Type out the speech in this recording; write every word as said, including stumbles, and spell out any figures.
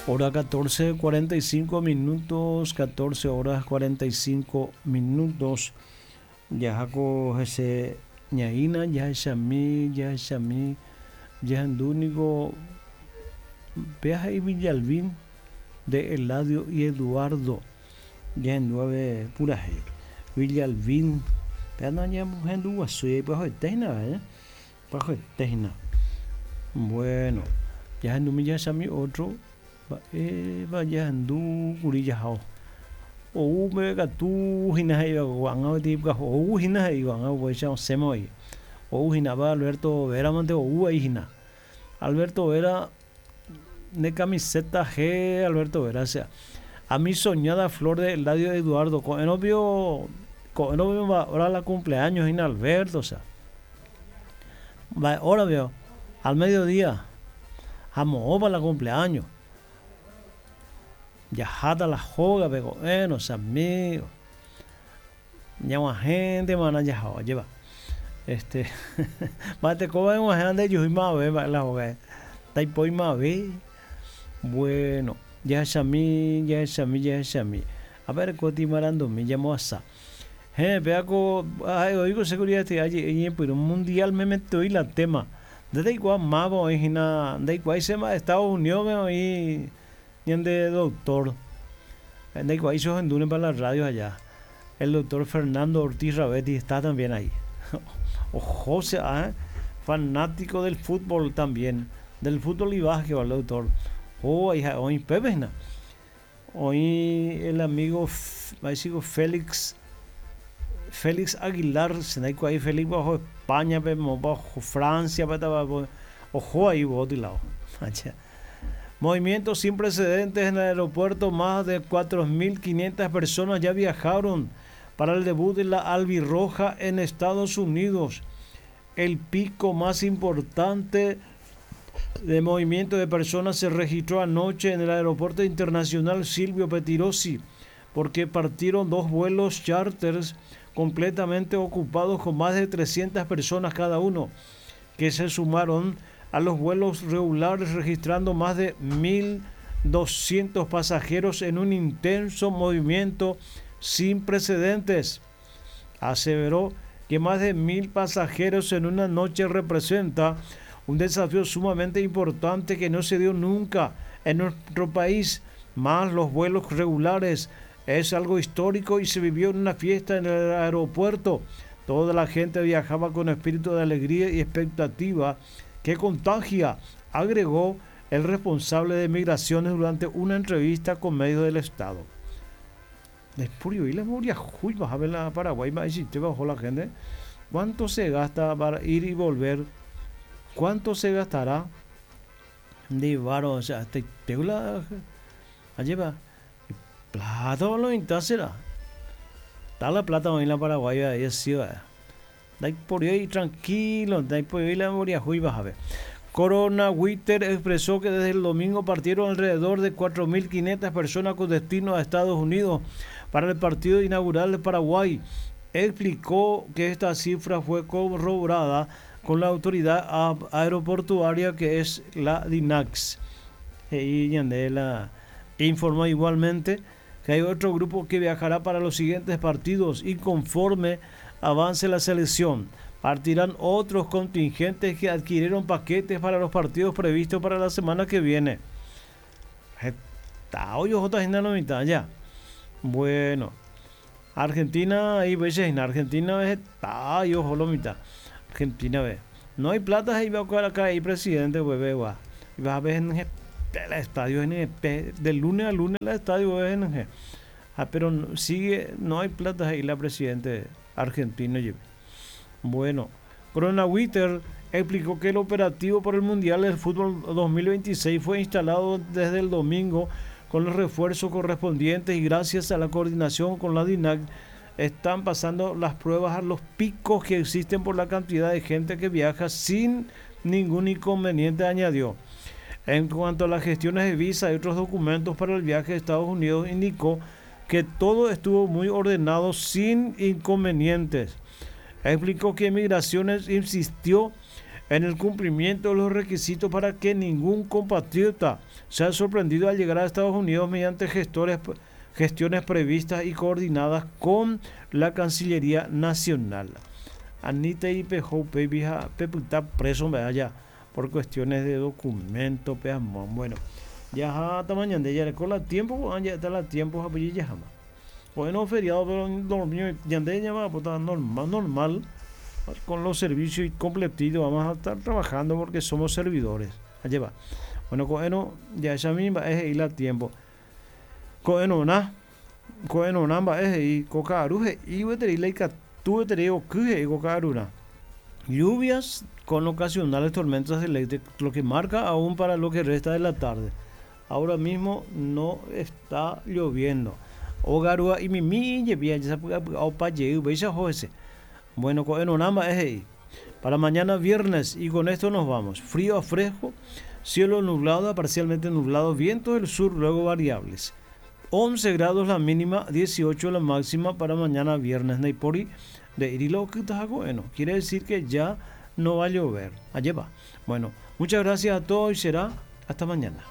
Hora catorce cuarenta y cinco minutos, catorce horas cuarenta y cinco minutos. Jahako hese ñaína, jahechami, jahechami, jahendúniko péa he'i Villalbín de Eladio y Eduardo. Jahendu ave purahéi. Villalbín, péa ndañahenduguasúi ipyahuetéhina, ¿eh? Ipyahuetéhina. Bueno, jahendumi jahechami otro mba'épa jahendu kuri jahao. Ou mbeguekatu hína he'íva ko'ág̃a peteĩ pyahu ou hína he'i ko'ág̃a upéicha osẽma voi. Ou hína pa Alberto Vera mante ou vai hína. Alberto Vera ne camiseta G Alberto Vera, o sea, a mi soñada flor de Eladio Eduardo ko'ẽrõ pio ko'ẽrõ pio hora la cumpleaños hína Alberto, o sea. Mba'e hora pio al mediodía ha moõpa la cumpleaños. Jaháta la hógape ko'ẽrõ, che amigo. Ñag̃uahẽntemana jahao, ajépa. Este mba'etekóva eg̃uahẽ ndejuhúi mave mba'e la hógape. Ndaipói mave. Bueno, jahechami, jahechami, jahechami. Aperekóti marandumi jamoasa. Héẽ, péako ha'e oĩko seguridad je'e ñepyrũ mundial memetoi la tema. Nde ndaikuaa máva oĩ hína ndaikuaáichema Estados Unidos-pe oĩ ñande doctor. Ndaikuaáicha ohendúne para la radio allá. El doctor Fernando Ortiz Ravetti está también ahí. Ojo, sea, ¿eh? Fanático del fútbol también. Del fútbol y básquetbol, el doctor. Oh, ahí oĩ Pepe, ¿no? Oĩ el amigo Félix Félix Aguilar, se ahí Félix bajo España, bajo Francia, ojo ahí, lado. Movimientos sin precedentes en el aeropuerto, más de cuatro mil quinientas personas ya viajaron para el debut de la Albirroja en Estados Unidos. El pico más importante de movimiento de personas se registró anoche en el aeropuerto internacional Silvio Pettirossi, porque partieron dos vuelos charters completamente ocupados con más de trescientas personas cada uno, que se sumaron a los vuelos regulares, registrando más de mil doscientos pasajeros en un intenso movimiento sin precedentes. Aseveró que más de mil pasajeros en una noche representa un desafío sumamente importante que no se dio nunca en nuestro país, más los vuelos regulares. Es algo histórico y se vivió en una fiesta en el aeropuerto. Toda la gente viajaba con espíritu de alegría y expectativa que contagia, agregó el responsable de migraciones durante una entrevista con medios del Estado. Después, y la moria, uy, vas a ver la Paraguay, y te bajó la gente. ¿Cuánto se gasta para ir y volver? ¿Cuánto se gastará? De varo, o sea, te pego la. Allí va. Plata lo será. Está la plata en la Paraguay, ahí así va. Da por ahí tranquilo, da por ahí la moria, uy, vas a ver. Corona Witter expresó que desde el domingo partieron alrededor de cuatro mil quinientas personas con destino a Estados Unidos para el partido inaugural de Paraguay. Explicó que esta cifra fue corroborada con la autoridad aeroportuaria, que es la DINAX. Y Ñandela informó igualmente que hay otro grupo que viajará para los siguientes partidos y conforme avance la selección, partirán otros contingentes que adquirieron paquetes para los partidos previstos para la semana que viene. Está hoy otra mitad ya. Bueno, Argentina, ahí ves, en Argentina está yo lo mitad. Argentina ve. No hay plata, ahí va a acá ahí presidente, pues ve, va. Y vas a ver en el estadio N G, de lunes a lunes el estadio N G. Ah, pero sigue, no hay plata ahí la presidente argentino. Bueno, Corona Witter explicó que el operativo por el Mundial del Fútbol dos mil veintiséis fue instalado desde el domingo con los refuerzos correspondientes y gracias a la coordinación con la DINAC están pasando las pruebas a los picos que existen por la cantidad de gente que viaja sin ningún inconveniente, añadió. En cuanto a las gestiones de visa y otros documentos para el viaje a Estados Unidos, indicó que todo estuvo muy ordenado sin inconvenientes. Explicó que Migraciones insistió en el cumplimiento de los requisitos para que ningún compatriota sea sorprendido al llegar a Estados Unidos mediante gestores, gestiones previstas y coordinadas con la Cancillería Nacional. Anita y Pejo pepyta preso allá por cuestiones de documento, bueno, ya hasta mañana ya con la tiempo, ya está la tiempo, ya jamás. Bueno, feriado, pero dormido, ya ya va a normal, normal, con los servicios y completitos, vamos a estar trabajando porque somos servidores. Allá va. Bueno, bueno, ya esa misma es ir a tiempo. Bueno, na, bueno, namba es y coca aruje y lluvias con ocasionales tormentas eléctricas, lo que marca aún para lo que resta de la tarde. Ahora mismo no está lloviendo. Ogarua y mimi Bueno, para mañana viernes, y con esto nos vamos. Frío a fresco, cielo nublado a parcialmente nublado, viento del sur, luego variables. once grados la mínima, dieciocho la máxima para mañana viernes. Neipori de Irilo, bueno, quiere decir que ya no va a llover. Allá va. Bueno, muchas gracias a todos y será hasta mañana.